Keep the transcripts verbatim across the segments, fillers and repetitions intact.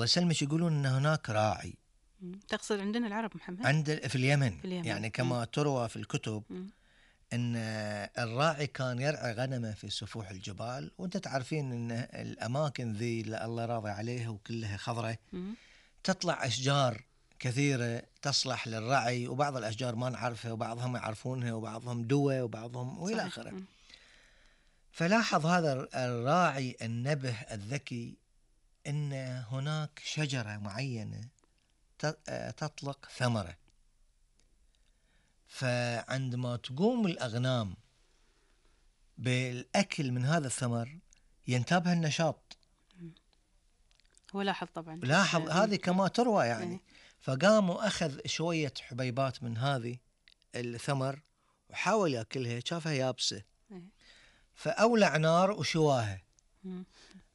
الله يسلمك يقولون أن هناك راعي. تقصد عندنا العرب محمد؟ عند في اليمن, في اليمن. يعني كما مم. تروى في الكتب مم. أن الراعي كان يرعى غنمه في سفوح الجبال, وأنت تعرفين أن الأماكن ذي اللي الله راضي عليها وكلها خضرة مم. تطلع أشجار كثيرة تصلح للرعي, وبعض الأشجار ما نعرفها وبعضهم يعرفونها وبعضهم دوى وبعضهم وإلى آخره. فلاحظ هذا الراعي النبه الذكي أن هناك شجرة معينة تطلق ثمرة, فعندما تقوم الأغنام بالأكل من هذا الثمر ينتابها النشاط. هو لاحظ طبعا, لاحظ هذه كما تروى يعني. فقام وأخذ شوية حبيبات من هذه الثمر وحاول يأكلها, شافها يابسة فأولع نار وشواها.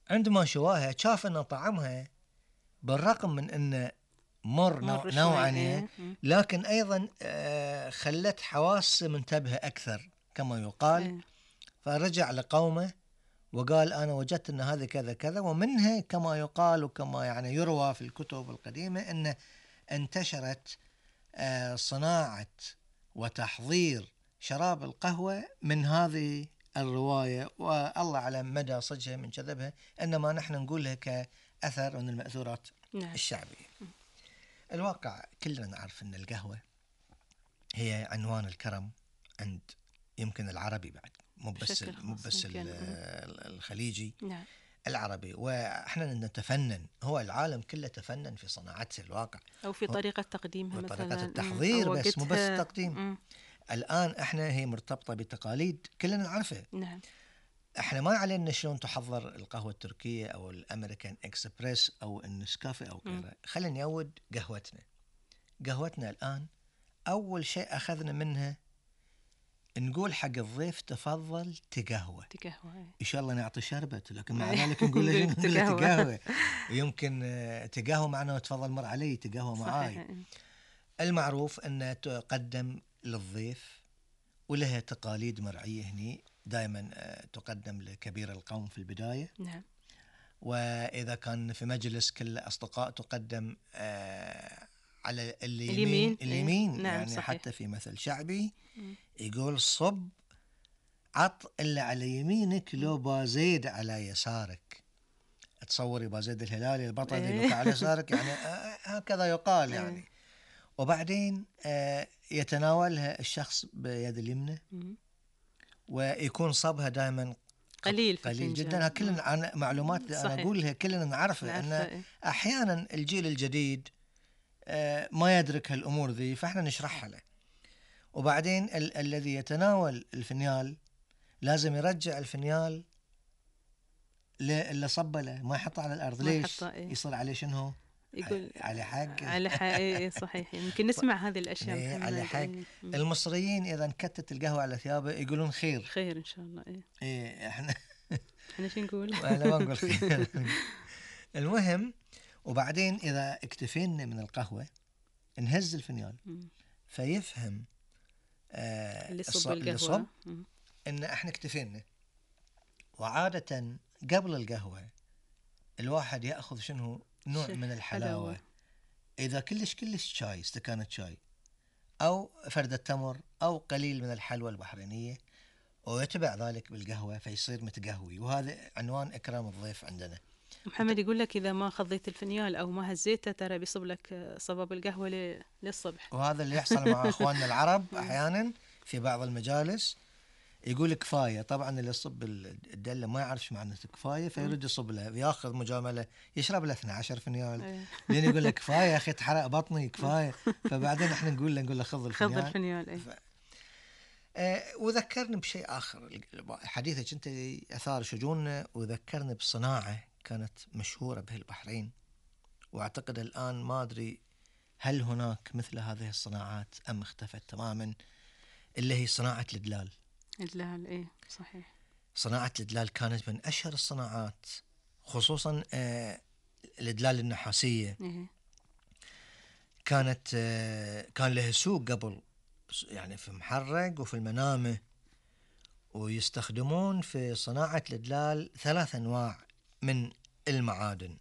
عندما شواها شاف أن طعمها بالرغم من أن مر, مر نوعا, لكن أيضا خلت حواسه منتبهة أكثر كما يقال. فرجع لقومه وقال أنا وجدت أن هذا كذا كذا, ومنها كما يقال وكما يعني يروى في الكتب القديمة أن انتشرت صناعة وتحضير شراب القهوة من هذه الرواية, والله على مدى صجها من كذبها, إنما نحن نقولها كأثر من المأثورات نعم. الشعبية. الواقع كلنا نعرف أن القهوة هي عنوان الكرم عند يمكن العربي بعد, مو بس مو بس الخليجي نعم. العربي, وإحنا نتفنن, هو العالم كله تفنن في صناعته الواقع, أو في طريقة تقديمها مثلا, طريقة التحضير, بس مو بس التقديم. مم. الآن إحنا هي مرتبطة بتقاليد كلنا نعرفها نعم. إحنا ما علينا شلون تحضر القهوة التركية أو الأمريكان إكسبريس أو النسكافيه أو غيره. خلينا نعود قهوتنا. قهوتنا الآن أول شيء أخذنا منها نقول حق الضيف تفضل تقهوى. تقهوى إن شاء الله نعطي شربت, لكن مع ذلك نقول له تقهوى. يمكن تقهوى معنا تفضل مر علي تقهوى معاي. المعروف أن تقدم للضيف ولها تقاليد مرعية هني, دائما تقدم لكبير القوم في البداية نعم. وإذا كان في مجلس كل أصدقاء تقدم على اليمين اليمين, اليمين. نعم يعني صحيح. حتى في مثل شعبي يقول صب عط اللي على يمينك لو بازيد على يسارك. تصوري بازيد الهلالي البطل اللي على يسارك, يعني هكذا يقال يعني. وبعدين يتناولها الشخص بيد اليمنى ويكون صبها دائما قليل قليل جدا. كلنا عن معلومات أنا أقولها كلنا نعرفها, أن أحيانا الجيل الجديد ما يدرك هالأمور ذي, فإحنا نشرحها له. وبعدين ال- الذي يتناول الفنيال لازم يرجع الفنيال اللي صب له, ما يحطه على الأرض. ليش؟ إيه؟ يصير عليه شنو؟ يقول على حق على حق. صحيح, يمكن نسمع هذه الأشياء. إيه على حق. المصريين إذا انكتت القهوة على ثيابه يقولون خير خير إن شاء الله. إيه, إيه إحنا إحنا شو نقول؟ أنا ما نقول خير. المهم, وبعدين إذا اكتفينا من القهوة نهز الفنيال فيفهم آه اللي صب القهوة صب إن إحنا اكتفينا. وعادة قبل القهوة الواحد يأخذ شنو نوع من الحلاوة حلاوة. إذا كلش كلش شاي, استكانة شاي أو فردة تمر أو قليل من الحلوى البحرينية, ويتبع ذلك بالقهوة فيصير متقهوي. وهذا عنوان إكرام الضيف عندنا. محمد يقول لك إذا ما خضيت الفنيال أو ما هزيته ترى بيصب لك صباب القهوة للصبح. وهذا اللي يحصل مع أخواننا العرب أحيانا في بعض المجالس, يقول كفاية. طبعا اللي يصب الدلة ما يعرف معنى كفاية فيرد يصب له, ياخذ مجاملة يشرب له اثني عشر فنيال, لين يقول لك كفاية يا أخي تحرق بطني كفاية. فبعدين احنا نقول له نقول له خذ الفنيال. خذ الفنيال. أي. ف... آه وذكرني بشيء آخر, حديثك أنت أثار شجوننا وذكرني بصناعة كانت مشهورة به البحرين, وأعتقد الآن ما أدري هل هناك مثل هذه الصناعات أم اختفت تماما, اللي هي صناعة الدلال. الدلال إيه صحيح. صناعة الدلال كانت من أشهر الصناعات, خصوصا آه الدلال النحاسية. إيه. كانت آه كان لها سوق قبل, يعني في محرق وفي المنامة, ويستخدمون في صناعة الدلال ثلاث أنواع من المعادن.